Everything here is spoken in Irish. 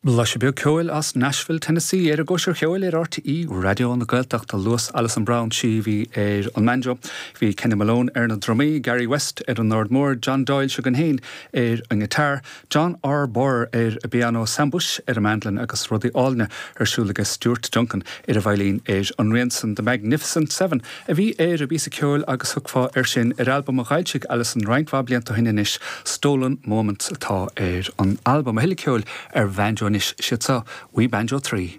Blaiseadh beag ceoil as Nashville, Tennessee ar an gCóisir Cheoil ar RTÉ Raidió na Gaeltachta. Luas Alison Browne, sí a bhí ar an mbanjo. Bhí Kenny Malone ar na drumaí, Gary West ar an ord mór, John Doyle, seo againn féin, ar an ngiotár, John R. Burr ar an bpianó, Sam Bush ar an mandolin agus rudaí álainne ar siúl aige Stuart Duncan ar an veidhlín ar an rian san. The Magnificent Seven a bhí ar an bpíosa ceoil agus thiocfá air sin ar albam a dh'fhoilsigh Alison roinnt mhaith blianta ó shin anois, Stolen Moments atá ar an albam. A thuilleadh ceoil ar bhanjo anois, siad seo We Banjo 3.